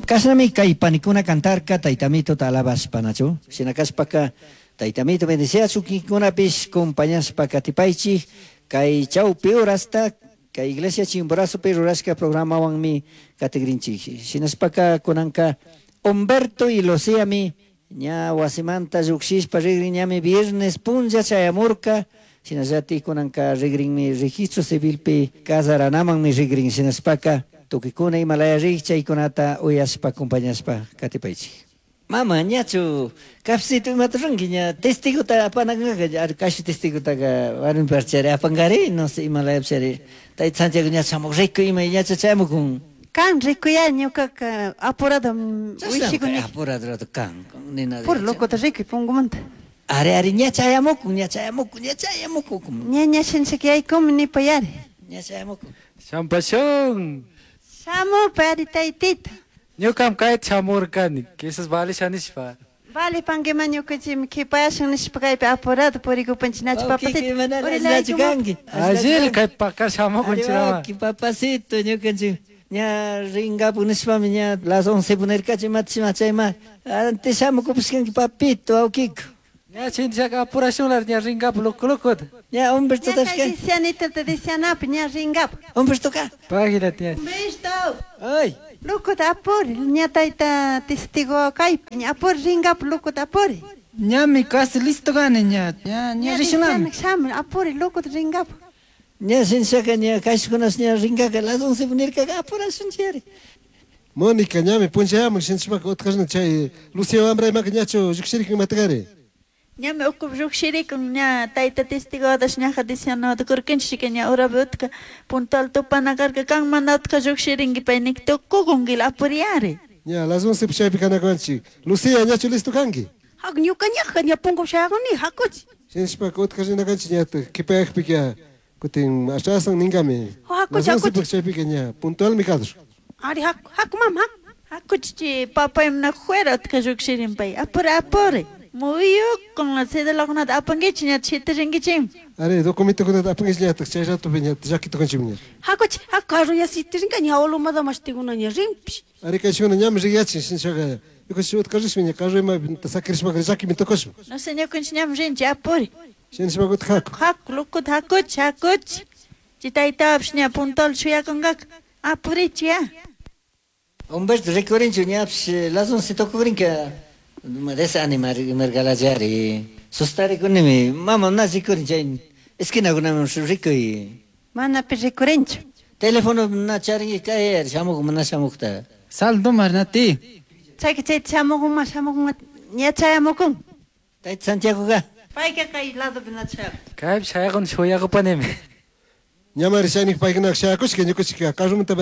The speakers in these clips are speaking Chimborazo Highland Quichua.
Kashnami kay panikuna cantarka taytamitota alabashpa nachu. Shina kashpaka taytamito bendiciachun kikinkunapish compañashpa katipaychik kay chawpi horasta kay iglesia Chimborazopi rurashka programawanmi katigrinchik. Shinashpaka kunanka Humberto y Luciami ña wasimanta llukshishpa rigrin ñami viernes punlla chayamurka shinallatik kunanka rigrinmi registro civilpi casaranamanmi rigrin shinashpaka tukikuna imalaya rik chaykunata uyashpa acompañashpa katipaychik. Mama, ñachu cafecito imata ruranki ña testigota apanakanka kashu testigotaka warmiparchari apankari no sé imalayapchari tayta Santiago ña shamuq rikuy ima ñacha chayamukun. Kan rikuya ñukaka apurado wishikuni. Apurado rato kan nina. Puro locota rikuy pungumanta. Ari ari ña chayamukun ña chayamukun ña chayamukun. Ña ña shinchik yaykumi nipayari. Ña chayamukun. Shampashun. Shamupari taytita. Ñukam kayta shamurkani, quizás valisha nishpa. Vale pankiman ñukanchikmi kipayashun nishpa kaypi apurado purikupanchik nachu papacito. Nachu kanki. Allil kay pakar shamukunchirama. Papacito ñukanchik ña ringapu nishpami ña las 11 punirkachi imatashi chayma antes shamukupishkanki papito awkiku. Ña chinchaka apurashunlar ña ringapu loco loco. Ña Humberto tashka. Ña te dicianapi ña ringapu. Humberto ka. Página ña. Humberto. Ay. Locota apuri, ña tayta testigo kaypi, ña apuri ringapu locota apuri. Ñami casi listo gani ña, ña ña rishunami. Shamu apuri locota ringapu. Ña shinshaka ña kashkunas ña ringaka las 11 punirkaka apurashunchiri. Mónica ñami punchayamun shinchpaka utkashna chay Lucia wamra imaka ñachu llukshirikan imatakari. Ñami ukupi llukshirikun ña tayta testigodash ñaja dicianoda kurkanchik ña urapi utka puntual tupana karka kan mana utka llukshirinki pay nik tukukunkila apuriyari. Ña las 11 chaypi kanakanchik. Lucia ñachu listo kanki. Hak ñuka ñaja ña punku shayakuni hakuchi. Shinchpaka utka rinakanchik ña kipayakpika kutin ashasan ninkami. Hakuchi hakuchi. Chaypika ña puntualmi kadur. Ari haku haku mama. Hakuchi papaymi na juera utka llukshirin pay apuri apuri. Muyukun la cédulakunata apankichik ña chitirinkichik. Ari documentokunata apankichik ñataq chay ratopi ña llakitukanchik ña. Hakuchi haku carro ña sitirinka ña olomada mashtikuna ña rinpish. Ari kayshuna ñami riyachin shinchaqa ñukanchik utka rishpa ña carro ima sakirishpaka llakimi tukushun. No sé ñukanchik ñami rinchik apuri. Shinashpaka utka haku. Haku lokuta hakuchi hakuchi. Chay taytapish ña puntual shuyakunkaka apurichi ya. Humberto rikurinchu ñapish las 11 tukurinka. Desanimar imargalachari sustarikunimi mama na rikurin chay esquinakunaman rikuy. Mana pi rikurinchu. Teléfono na charinki kay shamuk mana shamukta. Saldo marnati. Chayka chayta shamukuma shamukuma ña chayamukun. Tayta Santiago ka. Payka kay ladopi na chayakun. Kaypi shayakun shuyakupanimi. Ñamari chaynik paykunaka shayakushka ñukanchik carromanta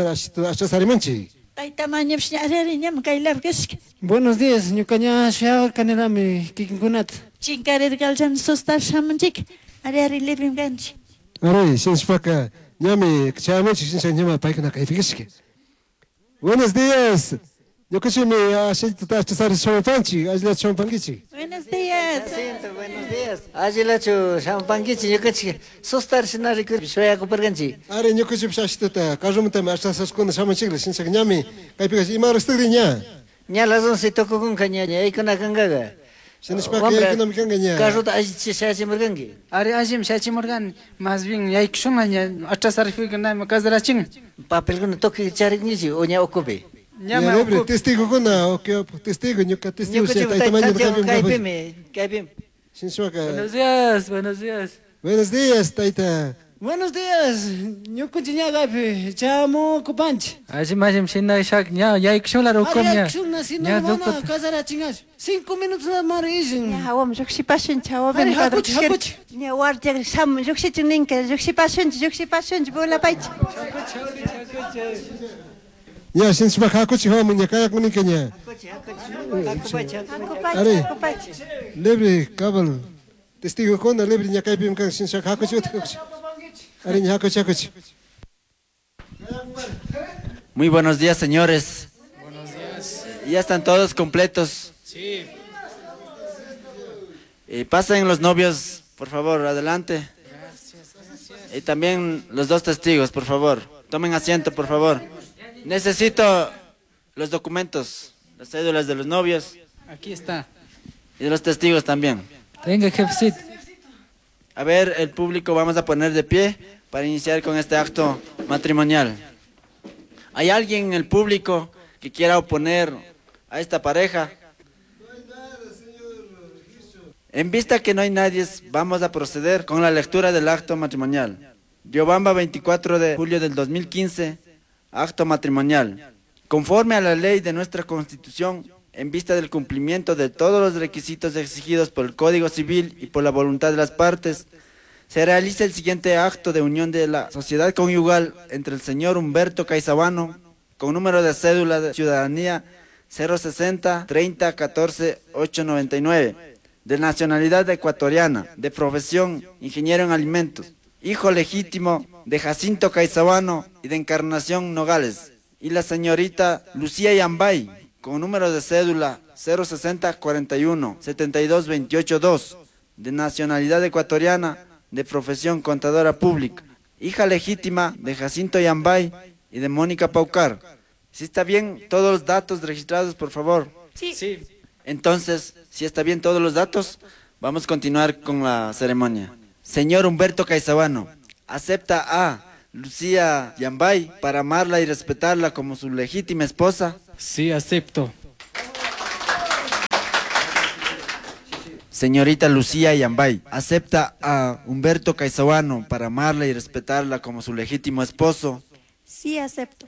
ashasarimanchik. Tayta mañapish ña ari ñami kaylapi kashka. Buenos días, ñuka ña shuyarkanilami kikinkunata. Chinkarirkalchani sustar shamunchik. Ari ari librim kanchik. Ari, shinashpaka ñami chayamunchik shinsha ñama paykuna kaypi kashka. Buenos días. Ñukanchikmi ashallata ashasari shamupanchik, allilachu shamupankichik. Buenos días. Buenos días. Allilachu shamupankichik ñukanchik sustar shina rikur shuyakuparkanchik. Ari ñukanchikpish ashitata carromantami ashasashkuna shamunchikla shinshaka ñami kaypi kash ima horastakri ña. Ña las 11 tukukunka ña yaykunakankaqa. Shinashpaka yaykunami kanka ña. Carrota allichi shayachimurkanki. Ari allimi shayachimurkani, más bien yaykushunla ña atrasarikuykunami casarachin. Papelkuna tukuy charinkichik o ña ukupi. Ña libre testigokuna o que testigo ñuka testigo tayta mañana kaypimi kaypimi. Shinshpaka. Buenos días, buenos días. Buenos días, tayta. Buenos días, ñukanchik ña kaypi chamukupanchik. Allim allim shina shak ña yaykushunlar ukum ña. Yaykushunla si no mana casarachinkachu. 5 minutos nada rishin. Ña hawam llukshipashunchik hawapi. Ari hakuchi hakuchi. Ña guardia shamun llukshichun ninka llukshipashunchik llukshipashunchik volapaychik. Ña shinshpaka hakuchi hawamun ña kayakuninka ña. Hakuchi hakuchi. Hakupachi Ari. hakupachi. Libre cabal testigokuna libre ña kaypimi kan shinshaka hakuchi utka hakuchi. Ari ña hakuchi hakuchi. Muy buenos días, señores. Buenos días. Ya están todos completos. Sí. Pasen los novios, por favor, adelante. Gracias, gracias. Y también los dos testigos, por favor. Tomen asiento, por favor. Necesito Los documentos, las cédulas de los novios. Aquí está. Y de los testigos también. Venga, jefecito. A ver, el público vamos a poner de pie para iniciar con este acto matrimonial. ¿Hay alguien en el público que quiera oponer a esta pareja? En vista que no hay nadie, vamos a proceder con la lectura del acto matrimonial. Riobamba, 24 de julio del 2015, acto matrimonial. Conforme a la ley de nuestra Constitución, en vista del cumplimiento de todos los requisitos exigidos por el Código Civil y por la voluntad de las partes, se realiza el siguiente acto de unión de la sociedad conyugal entre el señor Humberto Caizabano, con número de cédula de ciudadanía 060 30 14 899, de nacionalidad ecuatoriana, de profesión ingeniero en alimentos, hijo legítimo de Jacinto Caizabano y de Encarnación Nogales, y la señorita Lucía Yambay, con número de cédula 060 41 72 28 2, de nacionalidad ecuatoriana, de profesión contadora pública, hija legítima de Jacinto Yambay y de Mónica Paucar. Si está bien todos los datos registrados, por favor. Sí. Sí. Entonces, si está bien todos los datos, vamos a continuar con la ceremonia. Señor Humberto Caizabano, ¿acepta a Lucía Yambay para amarla y respetarla como su legítima esposa? Sí, acepto. Señorita Lucía Yambay, ¿acepta a Humberto Caizabano para amarla y respetarla como su legítimo esposo? Sí, acepto.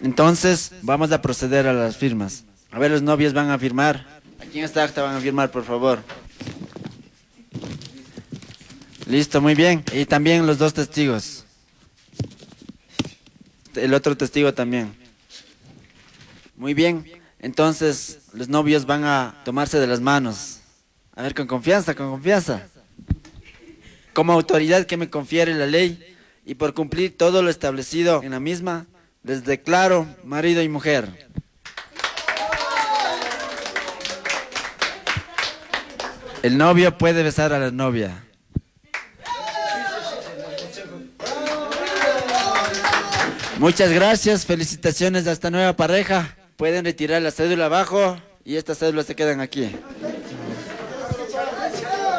Entonces, vamos a proceder a las firmas. A ver, los novios van a firmar. Aquí en esta acta van a firmar, por favor. Listo, muy bien. Y también los dos testigos. El otro testigo también. Muy bien. Entonces, los novios van a tomarse de las manos. A ver, con confianza, con confianza. Como autoridad que me confiere la ley y por cumplir todo lo establecido en la misma, les declaro marido y mujer. El novio puede besar a la novia. Muchas gracias, felicitaciones a esta nueva pareja. Pueden retirar la cédula abajo y estas cédulas se quedan aquí.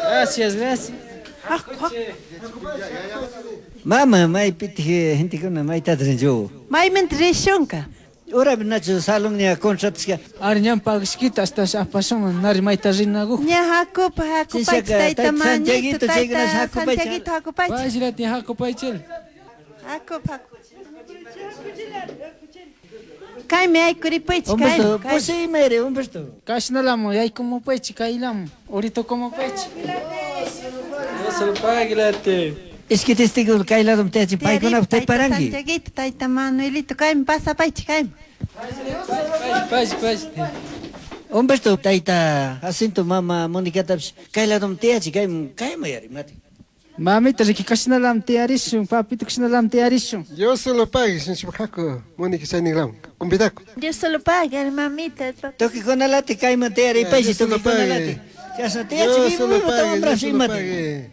Gracias, gracias. Mama, maypitij gentekuna maytataj rinchu. Maymantaj rishunka. Urapi nachu salón ña contratashka. Ari ñan pagashkita hasta apashun nari mayta rinakuj. Ña hakupa hakupaychik tayta Manito, tayta Santiaguito hakupaychik. Payshirati hakupaychil. Hakupa hakup. Kaymi aykuripaychik. Humberto, pushimere, Humberto. Kashnalamu yaykumupaychik kaylamu, uritukumupaychik. Dios lo pague, late. Es que testigo kay ladom tiyachin paykunapaq tiparanki. Santiaguito, tayta Manuelito, kaymi pasapaychik kaymi. Pay, pay. Humberto, tayta Jacinto, mama Monicatapish kay ladom tiyachin kaymi kaymi yari mati. Mamita riki kashnalam tiyarishun, papito kashnalam tiyarishun. Dios lo pague, shinchipaqaku, Mónica chayniqlawan, convidaku. Dios lo pague, mamita. Tukikunalati kayman tiyaripaychik, Dios lo tukikunalati. pague. Chashna tiyachin, Dios lo vivo pague, tamambrash Dios lo imati. pague.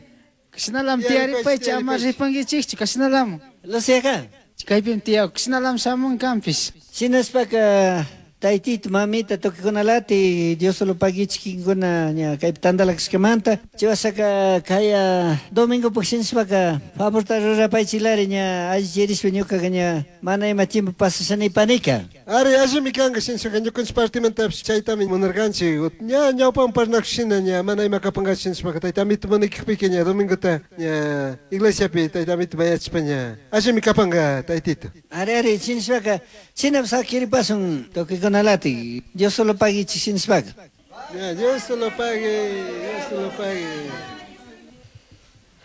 Kashnalam tiyaripaychik, ama ripankichikchu, kashnalam. Luciaqa. Kaypim tiyaw, kashnalam shamun kanpish. Shinaspaka taytito, mamita, tukikunalati, Dios lo paguichik kinkuna ña kaypi tantalakashkamanta. Chaywasaka kaya domingo puk shinaspaka favorta rurapaychilari ña allichirishpa ñukaka ña mana ima tiempo pasashanipanika. Ari, allimi kanka shinchaka ñukanchik partimantapish chaytami munarkanchik. Ña ñawpaman parlakushina ña mana ima kapankachu shinchapaka tayta Amito manikikpika ña domingota ña iglesiapi tayta Amito mayachishpa ña allimi kapanka taytito. Ari, ari, shinashpaka chinapi sakiripasun tukikunalati, Dios lo paguichik shinashpaka. Ya, Dios lo pague, Dios lo pague.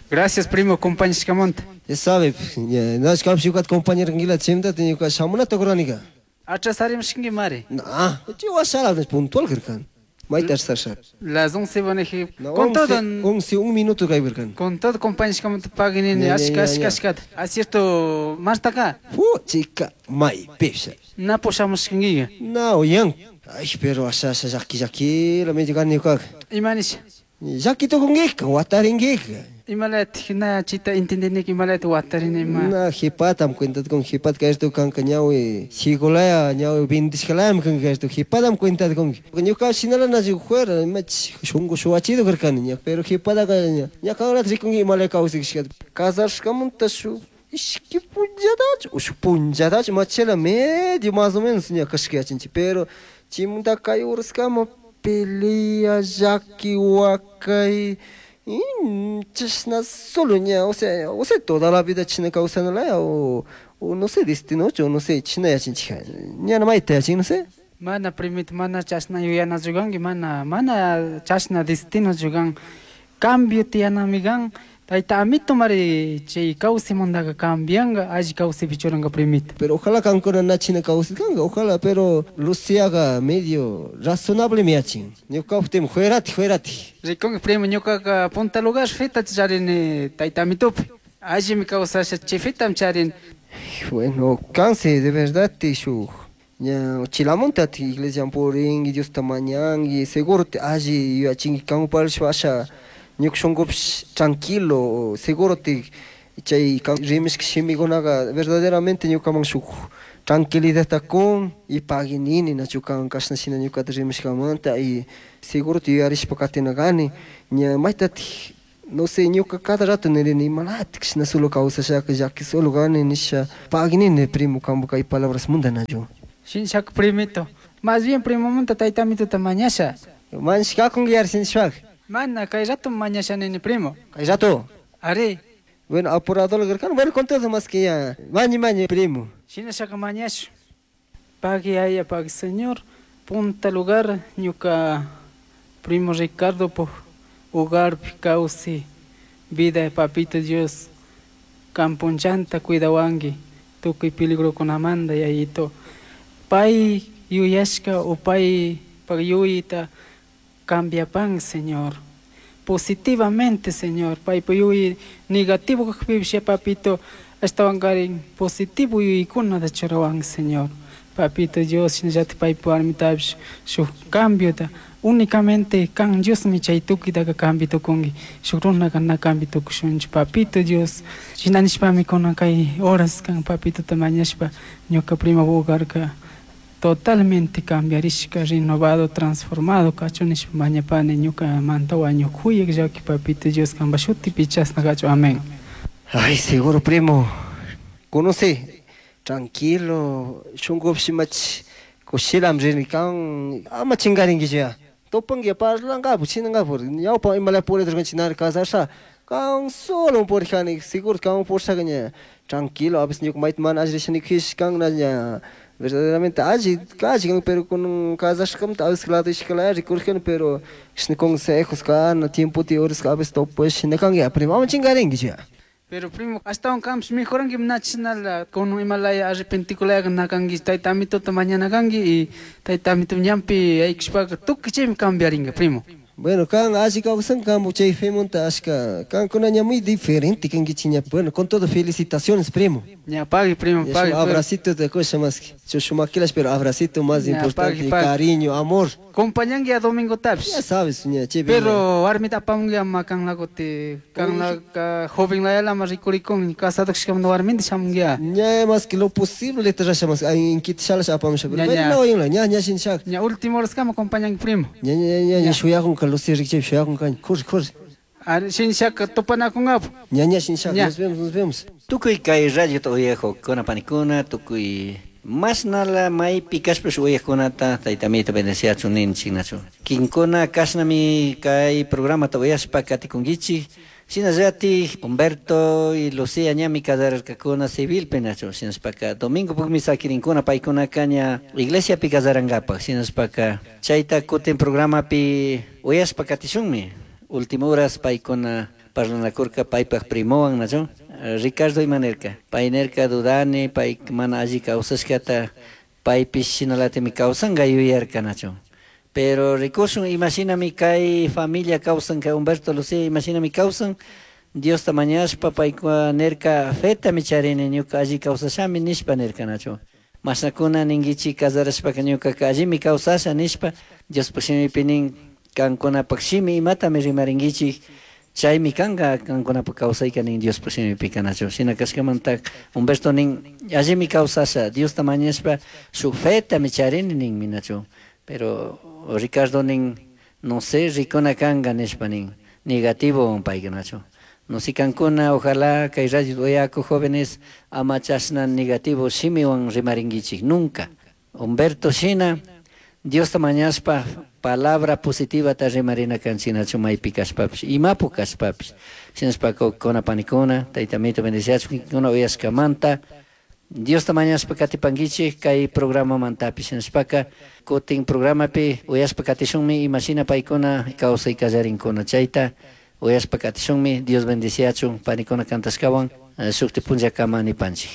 Gracias, primo, compañishkamanta. Sabe, ña, nash kam shukat compañero ngila chimta tiñuka shamuna tokranika. Atrasarimshkinki mari. Na, chiwashala puntual kirkan. Mayta atrasar. Las 11 van a No, con todo. 11, un minuto kay birkan. Con todo compañishkamanta paguinini, Ya, ya, ashka, ya, ashka, ya. ashkata. Acierto, Marta acá. Fu, chica, may pipsa. Na pushamushkinkiga. Na, oyan. Ay, pero asha, asha, llaki, llaki, la medio gani ukak. Imanish. Llaki tukunkika, watarinkika. Imalati na chita entendiniki imalati watarini ima. Na jipatam cuenta kun jipat kay kanka ñawi sigolaya ñawi bindishkalayam kanka kay jipatam cuenta kun. Ñuka shinala na fuera ima shungu shuwachido karkani ña pero jipataka ña ña kanrat rikunki imalaya kawsakishkata. Casashkamanta shuk ishki punllatachu o shuk punllatachu machela medio más o menos ña kashka yachanchik pero chimanta kay uraskama pelea llaki wakay chashna solo ña o sea toda la vida china kawsanalaya o no sé destinochu o no sé china yachanchik ña mayta yachin no sé. Mana primito mana chashna yuyanachu kanki mana mana chashna destinochu kan cambio tiyanami kan tayta amito mari chay kawsaymantaka cambianga alli kawsaypi churanka primito. Pero ojalá kankuna na china kawsaykanka ojalá pero Luciaga medio razonable mi yachin ñuka fuerati fuerati. Rikunki primo ñukaka punta lugar feta charini tayta amitopi allimi kawsasha chay fetam charini. Bueno, kansi de verdad shuk ña chilamunta iglesia purinki Diosta mañanki seguro te alli yuyachinki kanparishpa asha ñuka shunkupish tranquilo seguro te chay rimishka shimikunaka verdaderamente ñukaman shuk tranquilidadta kun y paguinini nachu kan kashna shina ñukata rimishkamanta y seguro te yuyarishpa katina kani ña maytatik no sé ñuka cada rato nirini imalatik shina solo kawsashaka llaki solo kani nisha paguinini primo kampu kay palabras munda nachu. Shinshaka primito más bien primo manta tayta amituta mañasha. Mañashkakunki yari shinshpaka. Mana kay rato mañasha nini primo. Kay rato. Ari. Bueno, apurado karkani, bueno, con todo más que ya. Mañi, mañi, primo. Shinashaka mañashu. Pagui aya, pagui señor. Punta lugar, ñuka primo Ricardo po hogar kawsi vida papito Dios. Kampunchanta cuidawanki tukuy peligrokunamanta yayito. Pay yuyashka o pay yuyita cambiapan Señor. Positivamente, Señor. Pay yuyi negativo kakpipish papito ashtawankarin positivo yuykunata churawan Señor. Papito Dios shinallatik paypa warmitapish shuk cambiota únicamente kan Diosmi chay tukuytaka cambio tukunki shuk runaka na cambio tukushunchu papito Dios. Shina nishpami kunan kay horas kan papitota mañashpa ñuka primo hogarka totalmente cambiarishka renovado transformado kachun nishpa mañapani ñuka manta wañuk kuyak llaki papito Dios kanpa shutipi chashna kachun amén. Ay, seguro primo. Conoce tranquilo shunkupish imach kushilam rini kan ama chinkarinkichu ya. Tupanki parlankapu chinankapu ñawpa imalaya puriturkanchik nari casasha kan solo purijani seguro kan purishaka ña tranquilo a veces ñuka mayta mana alli risha nikujish kan na ña verdaderamente alli alli kan pero kunan casashkamanta a veces lado ishkalaya rikurijani pero chishna consejos kan tiempota horas a veces tupash shina kanki ya primo ama chinkarinkichu ya. Pero primo, ashtawan kampish mejoranki na chishnala kunan imalaya arrepentikulayaka na kanki tayta amituta mañana kanki y tayta amito ñanpi aykushpaka tukuy chaymi cambiarinka primo. Bueno, kan alli kawsan kampu chay femunta ashka kankuna ña muy diferente kankichik ña. Bueno, con todo felicitaciones, primo. Ña pagui, primo, Ya, pagui, shuk abracito de cosa más que chushumakilash, pero abracito más Ña, importante, pagui, pagui. cariño, amor. Compañanki a domingo tapish. Ya sabes, ña, che, Pero warmita apamunki ama kanla kuti kanla joven layala ama rikurikun casado kashkamanta warminta shamunki ya. Ña más que lo posible te rasha más, ay inkita shalash apamusha, pero Ña, bueno, ña. no, ña, ña, ña, shin shak. Ña último horas kama acompañanki primo. Ña, ña, ña, ña, shuyakun ka Lucía rikchaypi shuyakun kan, corre, corre. Ari shinshaka tupanakunkapu. Ña, ña, shinshaka, Ña. nos vemos, nos vemos. Tukuy kay radiota uyajukuna panikuna, tukuy mashnala maypi kashpash uyajkunata tayta amito bendeciachun ninchik nachu. Kinkuna kashnami kay programata uyashpa katikunkichik. Shinallatik Humberto y Lucía ñami casararkakuna civilpi nachu. Shinashpaka domingo pukmi sakirinkuna paykunaka ña iglesiapi casarankapak. Shinashpaka chayta kutin programapi uyashpa katishunmi. Última horas paykuna parlanakurka paypak primowan nachu. Ricardo imanerka paynerka dudani pay mana alli kawsashkata paypish shinalatimi kawsanka yuyarka nachu. Pero rikushun imashinami kay familia kawsan kay Humberto Lucía imashinami kawsan Diosta mañashpa paykuna nerka fetami charini ñuka alli kawsashami nishpa nirka nachu. Mashnakuna ninkichik casarashpaka ñukaka allimi kawsasha nishpa Diospaj shimipi nin Kankunapak shimi imatami rimarinkichik, chaymi kanka kankunapak kawsayka nin Diospuk shimipika, nachu? Shina kashkamanta Humberto nin, allimi kawsasha, Diosta mañashpa shuk fetami charini ninmi, nachu? Pero Ricardo nin, no sé, rikuna kanka nishpa nin, negativo payka, nachu? No sé kankuna, ojalá kay radio uyaku jóvenes ama chashna negativo shimiwan rimarinkichik nunca. Humberto shina Diosta mañashpa palabra positivata rimarina kanchik, nachu? Maypi kashpapish, imapu kashpapish. Shinashpaka kuna panikuna, Tayta Amito bendiciachun kuna uyashkamanta. Diosta mañashpa katipankichik kay programamantapish. Shinashpaka kutin programapi uyashpa katishunmi imashina paykuna kawsay kallarinkuna. Chayta uyashpa katishunmi. Dios bendiciachun panikuna kantashkawan shukti punllakama nipanchik.